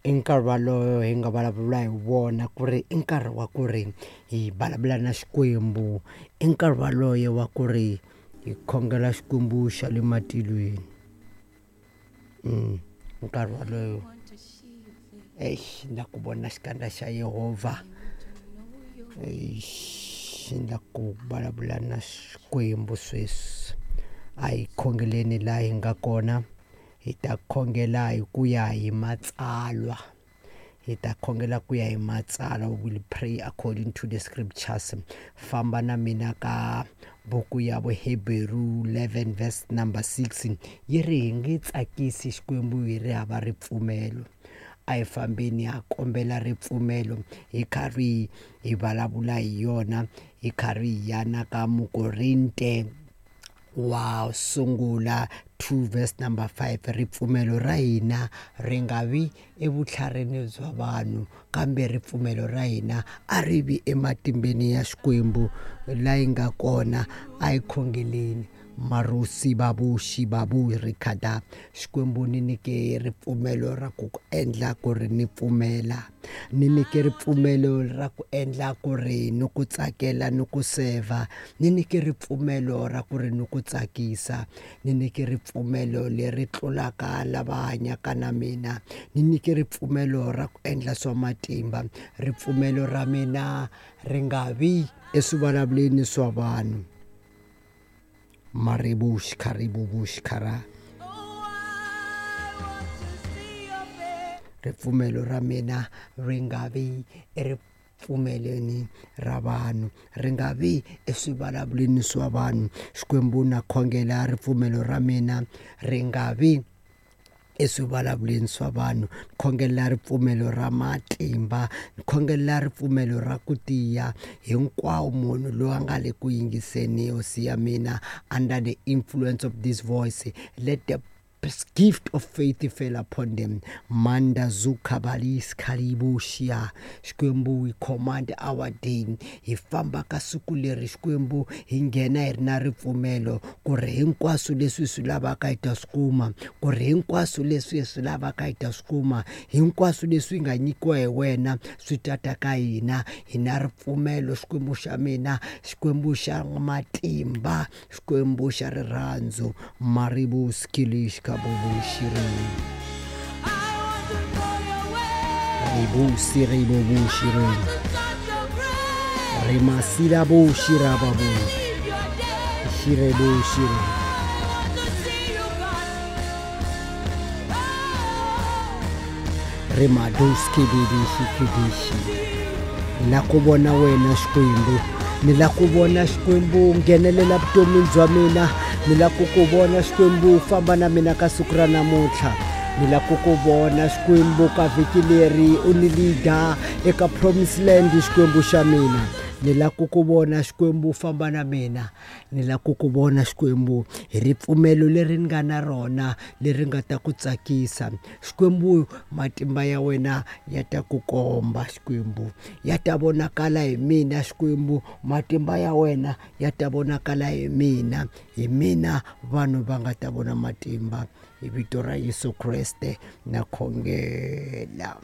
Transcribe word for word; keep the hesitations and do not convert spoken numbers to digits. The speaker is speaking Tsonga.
I nkarhi walowo hi nga vulavula hi wona ku ri i nkarhi wa ku ri hi vulavula na Xikwembu, i nkarhi waloye wa ku ri hi khongela Xikwembu xa le matilweni. Nkarhi walowo exi ni la ku vona xikandza xa Yehovha, exi ni la ku vulavula na Xikwembu sweswi. A hi khongeleni laha hi nga kona, hi ta khongela hi ku ya hi matsalwa, hi ta khongela ku ya hi matsalwa. We will pray according to the scriptures. Famba na mina ka buku ya Vuheberu eleven verse number six, yi ri hi nge tsakisi Xikwembu hi ri hava ripfumelo. A hi fambeni ha kombela ripfumelo hi karhi hi vulavula hi yona, hi karhi hi ya na ka Mukorinte wa sungula two verse number five, ripfumelo ra hina ri nga vi evutlharini bya vanhu, kambe ripfumelo ra hina a ri vi ematimbeni ya Xikwembu la yi nga kona. A hi khongeleni. Marusi babu xibabu rikhada, Xikwembu ni nyike ripfumelo ra ku ku endla ku ri ni pfumela, ni nyike ripfumelo ra ku endla ku ri ni ku tsakela ni ku seva, ni nyike ripfumelo ra ku ri ni ku tsakisa, ni nyike ripfumelo leri tlulaka lava hanyaka na mina, ni nyike ripfumelo ra ku endla swa matimba. Ripfumelo ra mina ri nga vi eswivulavuleni swa vanhu. Maribush karibubush kara. Ripfumelo ra mina ri nga vi eripfumelweni ra vanhu, ri nga vi eswivulavuleni swa vanhu. Xikwembu na khongela ripfumelo ra mina ri nga vi eswivulavuleni swa vanhu. Khongela ripfumelo ra matimba, khongela ripfumelo ra ku tiya. Hinkwawo munhu loyi a nga le ku yingiseni hosi ya mina, under the influence of this voice, let the gift of faith fell upon them. Manda zukabalis kalibushia. Xikwembu, we command our day. Hi famba ka siku leri Xikwembu hi nghena hi ri na ripfumelo ku ri hinkwaswo leswi hi swi lavaka hi ta swi kuma, ku ri hinkwaswo leswi hi swi lavaka hi ta swi kuma, hinkwaswo leswi nga nyikiwa hi wena swi ta ta ka hina. Hi na ripfumelo Xikwembu xa mina, Xikwembu xa matimba, Xikwembu xa rirhandzu. Maribus kilish Ribusi ribubushiri Rimasila bushira babu Shirebushiri. Rimaduski bidishi kidishi. La ku vona wena Xikwembu, ni la ku vona Xikwembu nghenelela vutomini bya mina, ni la ku ku vona Xikwembu famba na mina ka siku ra namuntlha, ni la ku ku vona Xikwembu ka vhiki leri u ni leader eka promise land Xikwembu xa mina, ni la ku ku vona Xikwembu famba na mina, ni la ku ku vona Xikwembu hi ripfumelo leri ni nga na rona leri nga ta ku tsakisa. Xikwembu matimba ya wena ya ta ku komba Xikwembu, ya ta vonakala hi mina Xikwembu, matimba ya wena ya ta vonakala hi mina, hi mina vanhu va nga ta vona matimba. Hi vito ra Yesu Kreste na khongela.